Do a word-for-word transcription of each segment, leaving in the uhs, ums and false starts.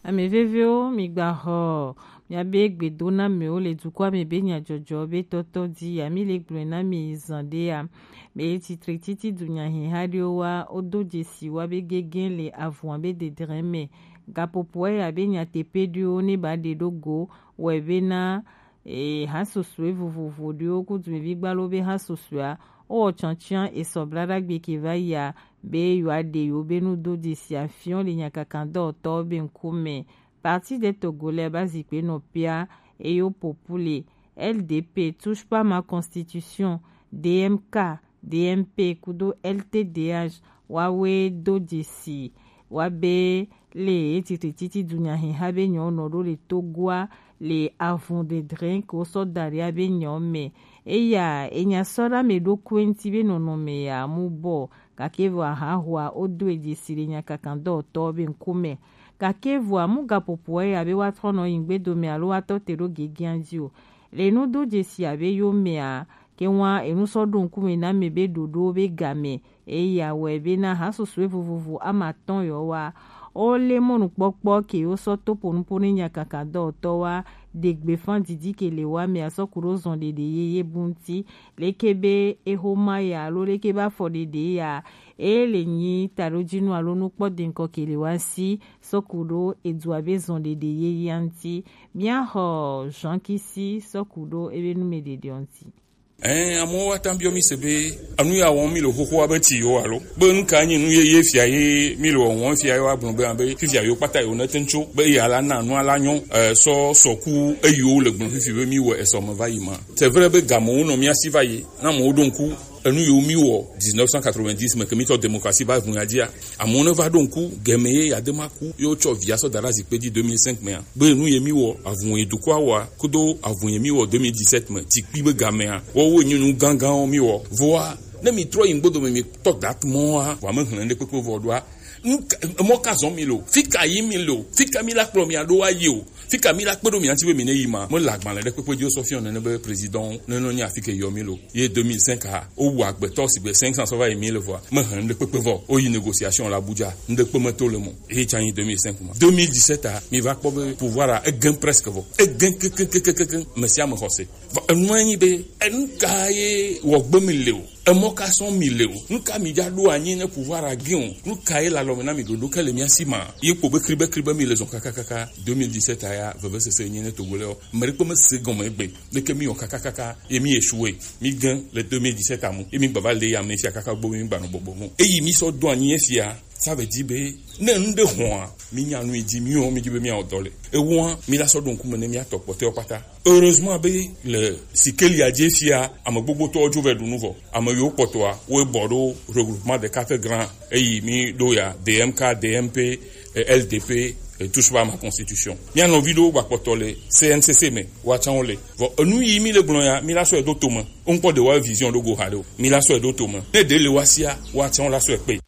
Ame vevewo, migbaxɔ miabe gbedonamewo le dukɔa me be nyajɔjɔ be tɔtɔ di ya. Mi le gblɔe na mi zan ɖe ya. Be titre titi dunyaheha ɖewo wa, wodo dzesi wa be gege le avua be dedre me. Gapopoa ya be nyateƒe ɖewo ne ba ɖe ɖo go wɔ be na e, ha susue vovovo ɖewo ku dumevi gbalo be ha susua, wowɔ tsɔtsiã esɔ blaɖagbe ke va yia, be yewoaɖe yewo be nudodzesi afiɔ le nyakakadɔwɔtɔwo be ŋkume. Parti des Togolais ba zikpe nɔ pia, eye wo popule, L D P, Touche pas ma constitution, D M K, D M P kudo L T D H wawe do dzesi wa be le etitititi dunyaheha be nyɔ nɔ ɖo le Togoa le avun dedre ke wo sɔ da ɖi abe nyɔ me. Eya enya sɔ ɖe ame ɖokui ŋuti be nɔnɔme ya mu bɔ, gake vɔ ahahua wo do e dzesi le nyakakadɔwɔtɔ be ŋkume. Gake vɔa mu gaƒoƒoa ya be woatrɔ nɔ yi ŋgbedome alo woatɔ te ɖo gegea dzi o. Le nudo dzesi abe yo mea, ke ŋua enu sɔ ɖo ŋkume na ame be ɖoɖo be game. Eya wɔe be na ha susue vovovo ama atɔ̃ yɔ wa, wo le mɔnukpɔkpɔ ke wo sɔ to ponupo ne nyakaka dɔwɔtɔ wa, ɖe gbefa didi ke le wa mea sɔ ku ɖo zɔn ɖeɖe yeye bu ŋuti. Leke be exoma ya alo leke be afɔ ɖeɖe ya, e le nyi taɖojinu alo nukpɔ deŋkɔ ke le wa si sɔ ku ɖo edua be zɔn ɖeɖe yeyea ŋuti. Mía xɔ Jean Kisi sɔ ku ɖo ebe numeɖeɖeɔ ŋuti. Ɛɛ, amewo wa ta biɔ mi se be enu ya wɔm mi le xoxoa be ti yo alo be nu ka nyi nu yeye fia ye mi le wɔwɔm fia ye wa gblɔ be abe fifia yo kpata yo ne te ŋtso be ya la na nua la nyɔ, ɛɛ, sɔ sɔku eyiwo le gblɔ fifi be mi wɔ esɔ me va yi ma. C'est vrai be gamewo nɔ mía si va yi, na amewo ɖo ŋku enu yiwo mi wɔ dix-neuf cent quatre-vingt-dix me ke mi tɔ démocratie va ʋu ya dzia. Amewo ne va ɖo ŋku, gɛmɛ ye ya de ma ku, ye wotsɔ via sɔ da ɖe azikpe dzi deux mille cinq mea, be nu ye mi wɔ, avun ye dukɔa wɔa, kudo avun ye mi wɔ deux mille dix-sept me, dzi kpi be gamea, woawo nyi nu gãgãwo mi wɔ. Vɔa, ne mi trɔ yi ŋgbodo me, mi tɔ date mɔa, vɔa me hlẽ ɖe kpekpe vɔ ɖoa. Nu ka, mɔ ka zɔn mi lo? Fi ka yi mi lo? Fi ka mi la kplɔ mi aɖo wa yi o? Fi ka mi la kpe ɖo mia ŋuti be mi ne yi ma? Me le agbalẽ ɖe kpekpe dzi wo sɔ fiɔ nene be président ne nɔ nyi afi ke yɔ mi lo. Ye deux mille cinq a, wowu agbetɔ sigbe cinq cents sɔ va yi mille vɔa, mehe ŋɖe kpekpe vɔ. Woyi négociation le Abuja, ŋɖe kpe meto le mo. Eye tsa nyi deux mille cinq ma. Deux mille dix-sept a, mi va kpɔ be pouvoir a, egẽ presque vɔ. Egẽ kekekekekekeŋ, me sia me xɔ se. Vɔ, enua nyi be, enu ka ye wɔ gbe mi le o? Emɔ ka sɔn mi le o? Nu ka mi dza ɖo anyi ne pouvoir a gẽ o? Nu ka ye le alɔ me na mi ɖoɖo ke le mia si ma? Ye kpɔ be kribe kribe mi le zɔn kakakaka. Deux mille dix-sept a ya, vevesese nyi ne Togo le o. Me ɖekpe me se gɔme egbe. Leke mi wɔ kakakaka, ye mi échoué, mi gẽ le deux mille dix-sept amu, ye mi gbava le ya me fia kaka gbɔ mi gbanɔ bɔbɔ mo. Eyi mi sɔ do anyi esia, ça veut dire be, ne nu ɖe hɔa, mi nya nu yi dzi, mi wɔ, mi dzi be mi awɔ dɔ le. Ewoa, mi la sɔ ɖo ŋkume ne mi atɔ kpɔtɔewo kpata. Heureusement be le Sikelia dzi esia, ame gbogbotɔwo dzo vɛ ɖu nu vɔ. Ame yiwo kpɔtɔa, wo bɔ ɖo regroupement des quatre grands. Eyi mi ɖo ya, D M K, D M P, eh, L D P, eh, touche pas à ma constitution. Mía nɔvi ɖewo gba kpɔtɔ le C N C C me, woatsã wo le. Vɔ enu yi mi le gblɔ ya, mi la sɔe ɖo to me. Wo ŋkpɔ ɖe wa vision ɖo go ha ɖe o. Mi la sɔe ɖo to me. Ne ɖe le wa sia, woatsã wo la sɔe kpe.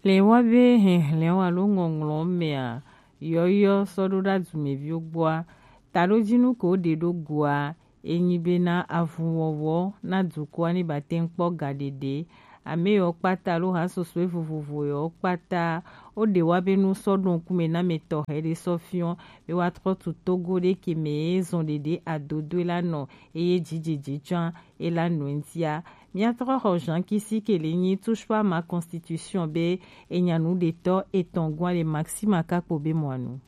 Le wa be hehlɛ̃ alo ŋɔŋlɔ mea, yɔyɔ sɔ ɖo ɖa dumeviwo gbɔa, taɖojinu ko ɖe ɖo goa, enyi be na avunwɔwɔ na dukɔa ni ba te ŋkpɔ ga ɖeɖe. Ame yiwo kpata alo ha soso vovovo yiwo kpata, wo ɖe wa be nu sɔ ɖo ŋkume na ame tɔxɛ ɖe sɔ fiɔ be wa trɔ tu Togo ɖe ke me ye zɔn ɖeɖe adodoe la nɔ eye dzidzedze tsã e la nɔ ŋutia. Mía trɔ xɔ Jean Kisi ke le nyi touche pas à ma constitution be enya nu ɖetɔ etɔn gɔa le Maxima kakpo be mɔa nu.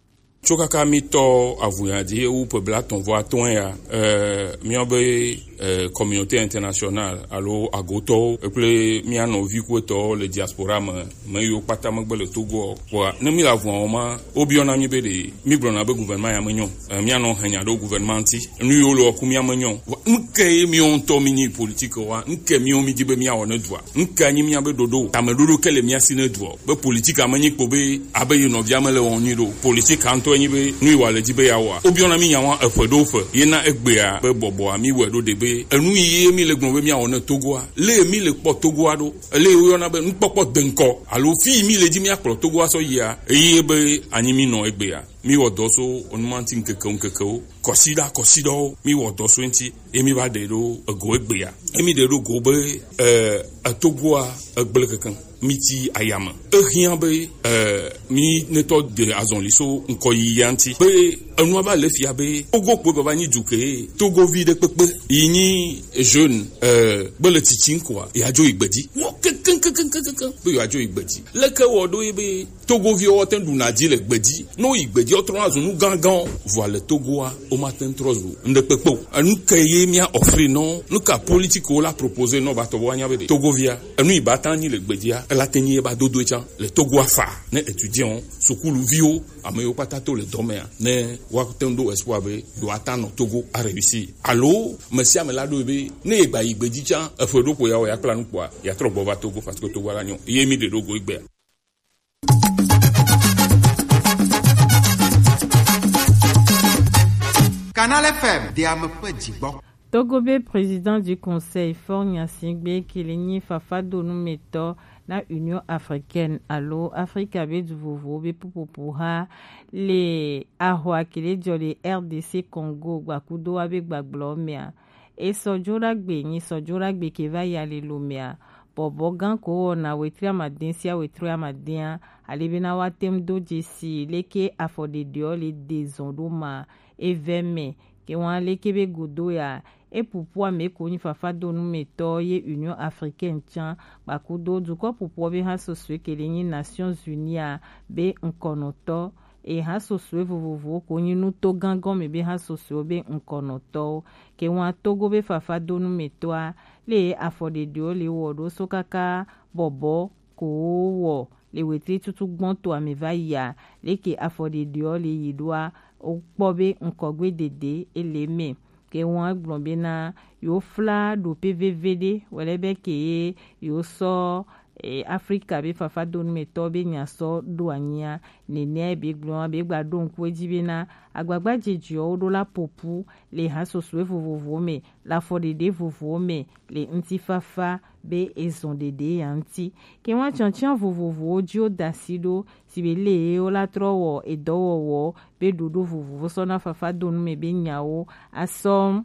Tso kaka mi tɔ avuya dzi ewu ƒe blatɔ̃ vɔ atɔ̃ ya, eh, míabe, eh, communauté internationale alo agotɔwo kple mía nɔvi kuetɔwo le diaspora me, me yiwo kpata megbe le Togo o. Kpɔa, ne mi le avua wɔm ma, wobiɔna mi be ɖe mi gblɔna be gouvernement ya menyo. Eh, mía nɔ henya ɖo gouvernement ŋuti. Nu yiwo le wɔku mía menyo. Vɔ, nu ke ye míawo ŋutɔ mi nyi politique wa? Nu ke míawo mi di be míawɔ ne dua? Nu ke nyi míabe ɖoɖo? Tameɖoɖo ke le mía si ne dua? Be politique ame nyi kpo be abe yi nɔvia me le wɔm nyui ɖo. Politique ŋutɔ nyi be nu yi wa le di be ya wɔa. Wo biɔna mi nya wa eƒe ɖo ƒe. Ye na egbea be bɔbɔa mi wɔ ɖo ɖe be enu yi ye mi le gblɔ be míawɔ ne Togoa. Le mi le kpɔ Togoa ɖo. Le wo yɔna be nukpɔkpɔ deŋkɔ. Alo fi yi mi le di mía kplɔ Togoa sɔ yia. Eye be anyi mi nɔ egbea. Mi wɔ dɔ so onumanti ŋkeke ŋkeke wo, kɔsiɖa kɔsiɖawo, mi wɔ dɔ so eŋti, ye mi va ɖe ɖo ego egbea. Ye mi ɖe ɖo go be, eh, etogoa egble kankan, mi ti ayame. Ehiã be, eh, mi netɔ de azɔli so ŋkɔ yiyia ŋti. Be enua va le fia be Togo kpoe bava nyi du ke Togovi ɖe kpekpe yi nyi jeune, eh, be le tsitsi ŋkɔa, yeadzo yi gbedzi. Wɔ kekeŋ, kekeŋ, kekeŋ, be yeadzo yi gbedzi. Leke wɔ ɖo ye be Togoviwo woate ŋu ɖuna dzi le gbedzi. Ne woyi gbedzi, wotrɔna zu nu gãgãwo. Vɔa le Togoa, womate ŋu trɔ zu ŋɖe kpekpe o. Enu ke ye mía offrir nɔ, nu ka politique wo la proposer nɔ va tɔ be woanya be ɖe Togovia, enu yi ba ta nyi le gbedzia, ela te nyi ye ba dodo tsã le Togoa fa ne étudiant, sukuluviwo, ame yiwo kpata to le dɔ mea, ne woate ŋu ɖo espoir be yewoate ŋu anɔ Togo a réussir. Alo, me sia me la ɖo be, ne ye gba yi gbedzi tsã, eƒe ɖo ko ya wɔ ya kpla nu kpɔa, ya trɔ gbɔ va Togo, parce que Togo la nyɔ. Ye mi ɖe ɖo go egbea. Canal F M, de ame ƒe dzigbɔ. Togo be président du conseil Faure Gnassingbé ke le nyi fafadonumetɔ na Union africaine alo Afrika be du vovowo be ƒuƒoƒo ha le ahwa ke le dzɔ le R D C Congo gbakudo wa be gbagblɔ mea. Esɔ dzo ɖagbe, nyi sɔ dzo ɖagbe ke va yi alilomea, bɔbɔ gã ko wɔna wetri amadin sia wetri amadin a, ale bena woate ŋu do dzesi leke afɔɖeɖeɔ le de zɔn ɖo ma, evɛ mɛ, ke wɔn leke be godo ya, epupu ame ko nyi fafadonumetɔ ye Union Africaine tsã, kpakudo dukɔ pupuɔ be ha sosoe ke le nyi Nations Unies a, be ŋkɔnɔtɔ, e ha sosoe vovovowo ko nyi nuto gã gɔme be ha sosoe be ŋkɔnɔtɔwo. Ke wɔn Togo be fafadonumetɔa, le afɔɖeɖewo le wɔ ɖo so kaka bɔbɔ ko wɔ le wetri tutu gbɔn to ame va yia, leke afɔɖeɖewo le yi ɖoa, wokpɔ be ŋkɔgbe dede ele mɛ. Ke wɔn gblɔ bena yewo fla ɖope veve ɖe wɛlɛ be ke ye yewo sɔ e, Afrika be fafadonumetɔ be nya sɔ ɖo anyia. Nenea be gblɔ be gba ɖo ŋku edzi bena agbagba jejewo ɖo la popu le ha sosoe vovovowo me, le afɔɖeɖe vovovowo me, le ŋutifafa be ezɔn ɖeɖe ya ŋuti. Ke wɔn tiɔtiɔ vovovowo dzi wo da asi ɖo, si be le ye wo la trɔ wɔ edɔwɔwɔ be ɖoɖo vovovo sɔ na fafadonu me be nyawo asɔ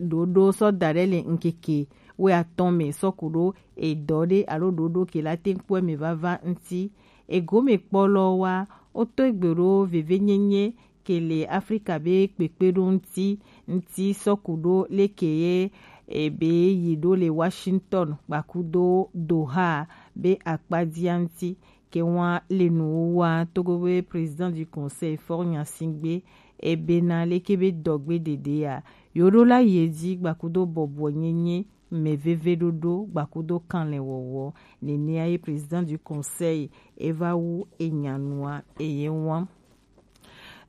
ɖoɖo sɔ da ɖe le ŋkeke wuiatɔ̃ me sɔ ku ɖo edɔ ɖe alo ɖoɖo ke la te ŋkpɔe me vava ŋuti. Egome kpɔlɔ wa, woto egbe ɖo vevenyenye ke le Afrika be kpekpeɖo ŋuti, ŋuti sɔ ku ɖo leke ye ebe yi ɖo le Washington kpakudo Doha be akpadia ŋuti. Ke wɔn le nu wa Togo be président du conseil Faure Gnassingbé ebe na leke be dɔgbe dede ya, yo ɖo la ye dzi gbakudo bɔbɔ nyenye, mɛ veve ɖoɖo gbakudo kanlɛ wɔwɔ. Nenea ye président du conseil eva wu enyanua eye wɔn.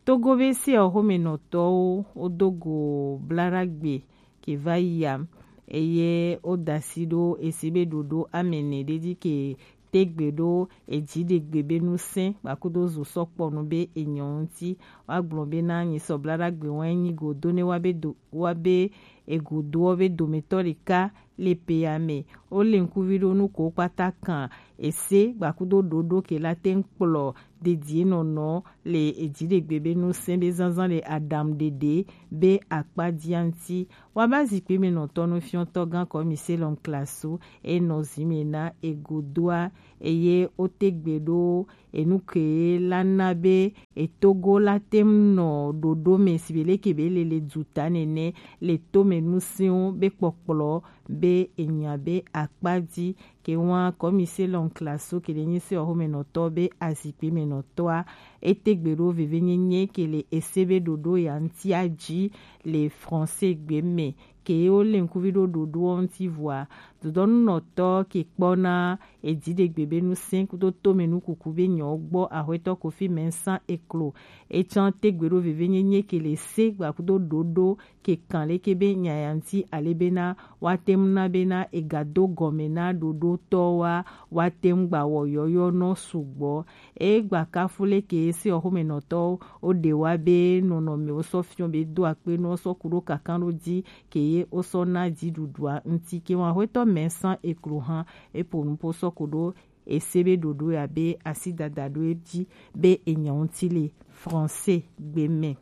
Togo be se oxomenɔtɔwo wodo go blaɖagbe ke va yi ya, eye woda asi ɖo esi be ɖoɖo amɛnɛ ɖe dzi ke tegbe ɖo edziɖegbe be nusẽ kpakudo zo sɔkpɔnu be enyɔ ŋuti. Woagblɔ be na nyi sɔ blaɖagbe wɔn enyi go do ne wa be do wa be egodoɔ be dometɔ ɖeka le pe ya me. Wole ŋkuvi ɖo nu ko kpata kan ese gbakudo ɖoɖo ke la te ŋu kplɔ dedie nɔnɔ le edziɖegbe be nusẽ be zazã le aɖaŋuɖeɖe be akpa dia ŋuti. Woaba zikpui me nɔtɔ nu fiɔtɔ gã kɔmi Selɔn Klasu enɔ zi me na egodoa eye wote gbe ɖo enu ke la na be etogo la te ŋu nɔ ɖoɖo me si be leke be le le duta nene le to me nusẽwo be kpɔkplɔ be enya be akpa dzi. Ke wɔn kɔmi Selɔn Klasu ke le nyi se oxomenɔtɔ be azikpui me nɔtɔa, ete gbe ɖo vevenyenye ke le ese be ɖoɖo ya ŋutia dzi le français gbe me. Ke wole ŋkuvi ɖo ɖoɖoɔ ŋuti vɔa, dodɔnunɔtɔ ke kpɔna edziɖegbe be nusẽ kudo tome nukuku be nyɔwo gbɔ, Axwetɔ Kofi Mensah eklo. Etsã tegbe ɖo vevenyenye ke le se gbakudo ɖoɖo ke kan leke be nya ya ŋuti ale bena woate ŋu na bena egado gɔme na ɖoɖotɔwoa, woate ŋu gba wɔ yɔyɔ nɔ sugbɔ. Egba kafu leke se oxomenɔtɔwo woɖe wa be nɔnɔmewo sɔ fiɔ be do akpe nɔ sɔ ku ɖo kankan ɖo dzi ke ye wosɔ na dziɖuɖua ŋuti. Ke wɔn Axwetɔ Mensah eklo hã epo nupo sɔ ku ɖo ese be ɖoɖo ya be asi dada ɖo eji be enyɔ ŋuti le français gbe mɛ.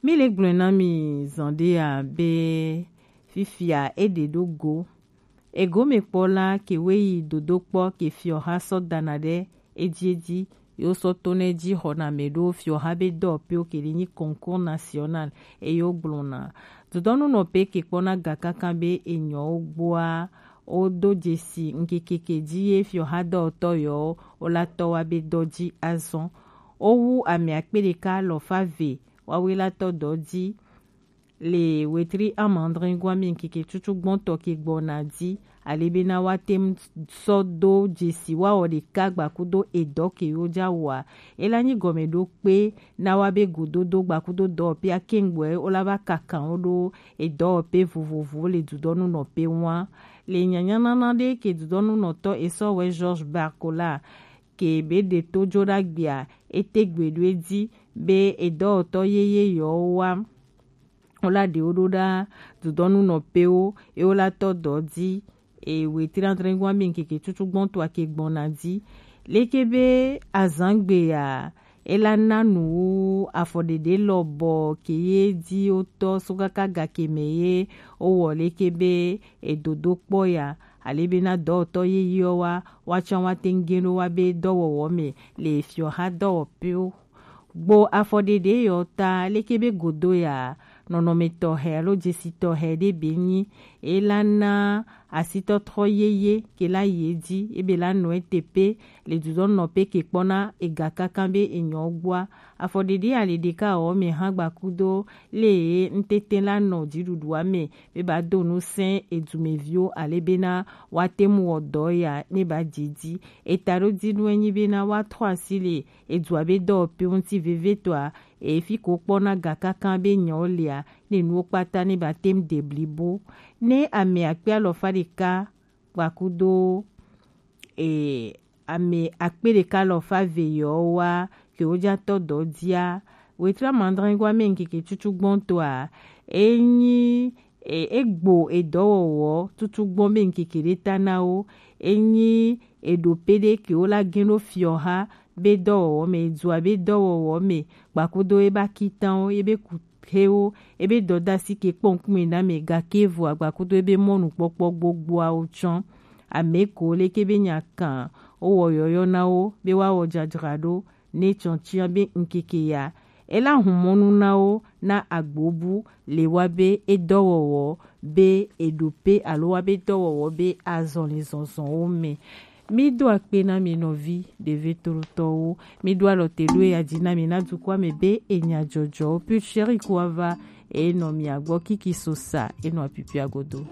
Mi le gblɔe na mi zan ɖe ya be fifia e ɖe ɖo go. Egome kpɔ la ke we yi dodo kpɔ ke fiɔha sɔ dana ɖe eji eji, yo sɔ to ne ji xɔna mɛ ɖo fiɔha be dɔwɔpewo ke ɖi nyi concours national eyo gblɔna. Dodɔnu nɔ pe ke kpɔna ga kankan be enyɔwo gboa, wo do jesi ŋkekeke ji ye fiɔha dɔwɔtɔ yɔ wo la tɔ wa be dɔ ji azɔn. Wo wu ame akpe ɖeka alɔfa ve wawe la tɔ dɔ ji le wetri amandrin gwa mi ŋkeke tutu gbɔntɔ ke gbɔna ji, ale bena wa tem sɔ do jesi wa wɔ ɖeka gbakudo edɔ ke yo ja wa. Ela nyi gɔme ɖo kpe na wa be gododo gbakudo dɔwɔpe akengboɛ wo la va kakan wo ɖo edɔwɔpe vovovo le dudɔnu nɔ pe wa. Le nyanyanana ɖe ke dudɔnu nɔtɔ esɔ wɛ Georges Barcola ke be ɖe to jo ɖa gbia, ete gbe ɖo edzi be edɔwɔtɔ yeye yɔ wa. Wo la ɖewo ɖo ɖa dudɔnu nɔ pewo, e wo la tɔ dɔ dzi, e wetri adre gwa mi ŋkeke tutu gbɔntɔ ake gbɔna dzi. Leke be azangbe ya, e la na nu wu afɔɖeɖe lɔ bɔ ke ye dzi wo tɔ so kaka ga ke mɛ ye wo wɔ leke be edodo kpɔ ya, ale bena dɔwɔtɔ yeye wa, wa tsã wa te ŋ ge ɖo wa be dɔwɔwɔ mɛ le fiɔha dɔwɔpewo. Gbo afɔɖeɖe yɔ ta leke be godo ya, nɔnɔme tɔxɛ alo jesi tɔxɛ ɖe be nyi, e la na asitɔtrɔ yeye ke la yi edzi, ebe la nɔ ete pe le dudɔnɔ pe ke kpɔna ega kankan be enyɔ gbɔa. Afɔɖeɖe ali ɖeka wɔ mɛ hã gbakudo le ŋtete la nɔ dziɖuɖua mɛ be ba do nu sɛn edumeviwo ale bena wa te mu wɔ dɔ ya ne ba dzi dzi. Eta ɖo dzi nu enyi bena wa trɔ asi le edua be dɔwɔpewo ŋuti vevietɔa, efi ko kpɔna ga kankan be nyɔwo lia, ne nuwo kpata ne ba tem de blibo. Ne ame akpe alɔfa ɖeka gbakudo e, ame akpe ɖeka alɔfa ve yɔ wa ke wo ja tɔ dɔ dia, wetri amandre gwa me ŋkeke tutu gbɔntɔa, enyi e, egbo edɔwɔwɔ tutu gbɔn be ŋkeke ɖe ta na wo, enyi eɖo pe ɖe ke wo la gen ɖo fiɔha be dɔwɔwɔ mɛ, edua be dɔwɔwɔ mɛ, gbakudo eba kitanwo, ebe kuhewo, ebe dɔdasi ke kpɔ ŋkume na mɛ gake evo agbakudo ebe mɔnukpɔkpɔ gbogboawo tsɔ. Ame ko leke be nya kan wo wɔ yɔyɔ na wo be wa wɔ jajra ɖo ne tsɔntsɔn be ŋkeke ya, ela hun mɔnu na wo na agbobu le wa be edɔwɔwɔ be eɖo pe alo wa be dɔwɔwɔ be azɔlizɔzɔnwo mɛ. Mi do akpe na mi nɔvi ɖevetrotɔwo. Mi do alɔ te ɖo eya dzi na mi na dukɔa me be enya jɔjɔwo. Puis chéri ko ava enɔ mia gbɔ kiki sosa enɔ apipia godo.